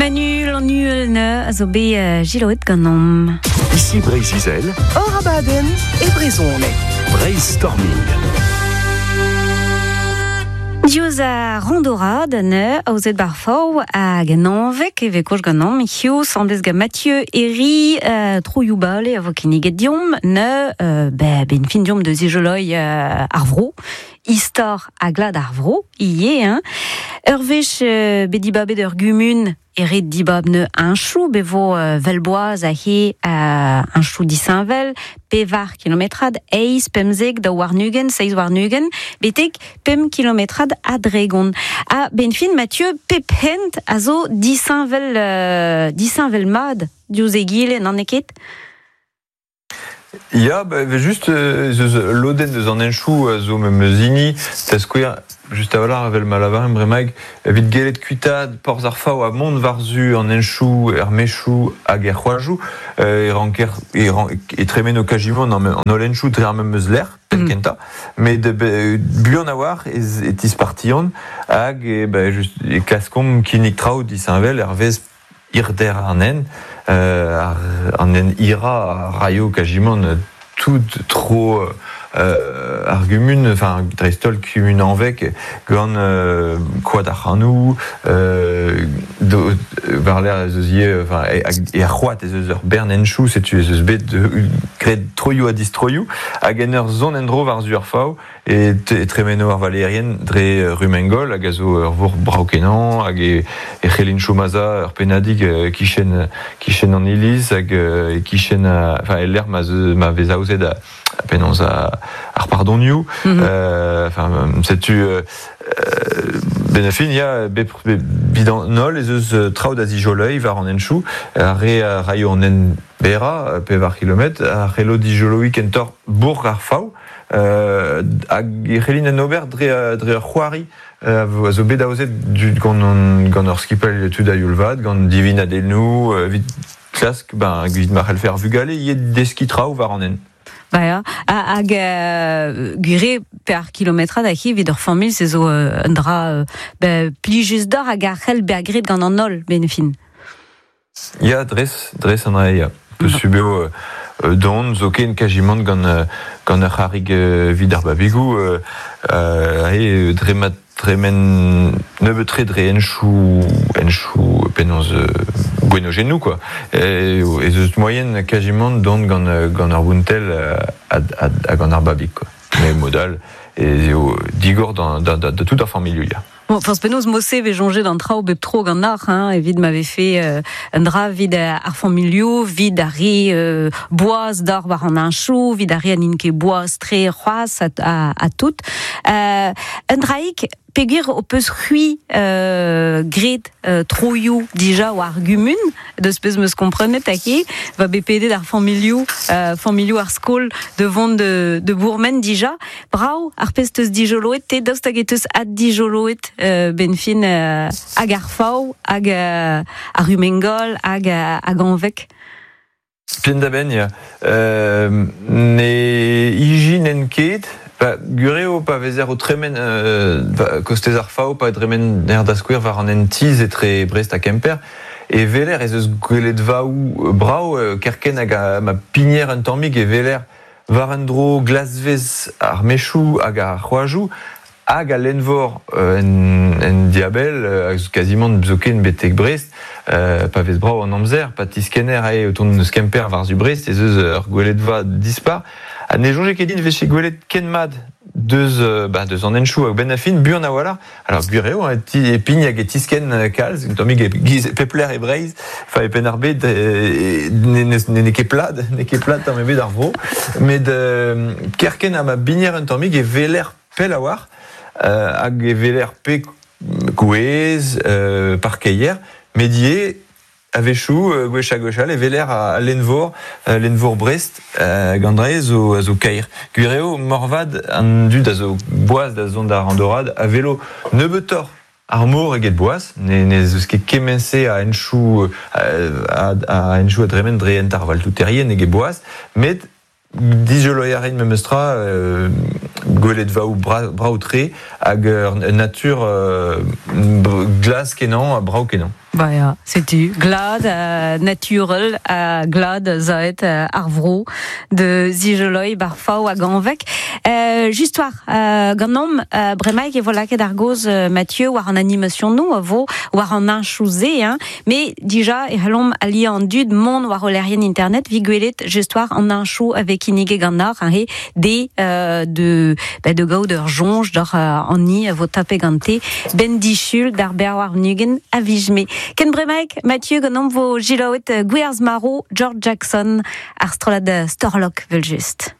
Manu Lanuel a zo bet jiloet ganeomp. Ici Breizh-Izel. Hor abadenn e brezhoneg. Breizh-Storming. Diouzh ar randorad ne aozet bar fav hag an anvek e vez koch ganeomp hiziv sandez gant Mathieu Herri troioù bale a vo kinniget deomp ne ben fin deomp deus ijoloi ar vro istor ha glad ar vro ivez hein. Ur wech bet dibabet ur gumun e ret dibab ne heñchoù bet vo vel-boaz aze heñchoù disheñvel pevar kilometrad eizh pemzek daou warn-ugent seizh warn-ugent betek pemp kilometrad ha dregont. Ha benn fin Mathieu pep hent a zo disheñvel disheñvel mat diouzh egile n'an eo ket? Ya, ba, evel-just ez eus lodenn deus an henchoù a zo memes hini, da skouer, just a-walc'h evel ma lavaremp bremaik, evit gellet kuitaat porzh ar Faou ha mont war-zu an henchoù, er mechoù hag er c'hoajoù, e ranker e, e tremeno kajimant an holl henchoù dre ar memes lec'h, penn kentañ, met buan a-walc'h ez e tispartiont hag e, ba, just, e klaskomp kinnig traoù disheñvel hervez Hirder an hent, an hent hirañ a raio kazimant tout tro ar gumun, enfin dreist-holl kumun Hañveg, gant koad ar C'hanoù, war-lerc'h ez eus ivez, enfin er c'hoad ez eus ur bern henchoù, setu ez eus bet graet troioù ha distroioù, hag en ur zont en-dro war-zu ar Faou, E tremeno ar valeerien dre Rumengol hag a zo ur vourc'h brav-kenañ hag e c'hellint chom aza ur pennadig kichen kichen an iliz hag e-kichen enfin el lec'h ma vez aozet penaos ar pardonioù. Enfin setu benn ar fin ya bep evit an holl ez eus traoù da zijoleiñ war an henchoù. Ar re a raio an hent berrañ, pevar kilometr, a c'hello dijoloiñ kentoc'h bourc'h ar Faou. Hag e c'hellin en ober dre, dre ur c'hoari a zo bet aozet gant, gant ur skipailh tud a youl vat, gant divinadennoù, evit klask, ben, evit ma c'hellfe ar vugale ivez deskiñ traoù war an hent. Ba ya, hag gwir eo per kilometrad a evit ur familh, se zo un dra plijus deoc'h hag a c'hell bezañ graet gant an holl, benn fin. Ya, dres, dres an dra ya. Posubl eo dont zoken kazimant gant gant ur c'harrig evit ar babigoù aze dre ma tremen nebeut-tre dre henchoù henchoù penaos gwenojennoù quoi. Ez eus moaien kazimant dont gant gant ur vountell ha gant ar babig quoi. Met mod all ez eo digor da da tout ar familhoù ya. Bon, forzh penaos mod-se 'vez soñjet an traoù bep tro ganeoc'h, hein, evit ma vefe un dra evit ar familhoù, evit ar re boaz d'or war an heñchoù, evit ar re ha n'int ket boaz-tre c'hoazh ha tout. Un draig, peogwir ho peus c'hwi graet troioù dija war gumun, deus pezh 'm eus komprenet ake, va bet pedet ar familhoù, familhoù ar skol da vont de bourmen dija. Brav ar pezh 'teus dijoloet te, daoust hag e teus addijoloet benn fin hag ar Faou, hag ar Rumengol, hag hag Hañveg? Penn-da-benn, ya. Ne ijinen ket. Ba, gwir eo pa vezer o tremen kostez ar Faou, pa dremener da skouer war an hent-tizh etre Brest ha Kemper, e weler ez eus gweledvaoù brav kerkent hag ma pigner un tammig e weler War un dro glasvez ar mechoù hag ar c'hoajoù hag al lenn-vor en, en diabell, kazimant zoken betek Brest, pa vez brav an amzer, pa tiskenner eo o tont eus Kemper war-zu Brest, ez eus ur gweledva dispar. Ha ne soñje ket din e vefe gwelet ken mat deus, bah, deus an henchoù a-benn ar fin, buan a-walc'h. Alors gwir eo, hein, e pign hag e tiskenn kalz, un tammig e-giz pep lec'h e Breizh, enfin e Penn-ar-Bed n'eo ket plat, n'eo ket plat tamm ebet ar vro, met kerkent ha ma bigner un tammig e weler pell a-walc'h hag e weler pe gwez, parkeier, met ivez A-wechoù, gwech ha gwech all, e weler al lenn-vor, lenn-vor Brest, gant dre zo, a zo kaer. Gwir eo, moarvat, an dud a zo boas da zont d'ar randorad a welo nebeutoc'h ar mor eget boas. Ne, ne eus ket kement-se a henchoù a, a henchoù a dremen dre hent ar valtouterien eget boas, met Dijoloiñ a rin memestra gweledvaoù brav-tre hag ur natur glas-kenañ ha brav-kenañ. Ba ya, setu, glad, naturel, glad zaet ar vro de zijeloi bar fao hag anvek. Just war, ganom, bremaik e vo lakaet ar goz Mathieu war an animation nou a vo war an anchouze, hein, mais dija e c'hellomp ali an dud mont war o lerien internet vi gwelet just war an anchou avec inige ganar, hein, he, de, de, ba, de gaout ur jonj d'or an ni a vo tape gante ben dichul d'ar ber war nugen a vijme. Ken bremaik, Mathieu ganom vo gilaouet Gwerz Maro, George Jackson, ar strolad Storlok vel just.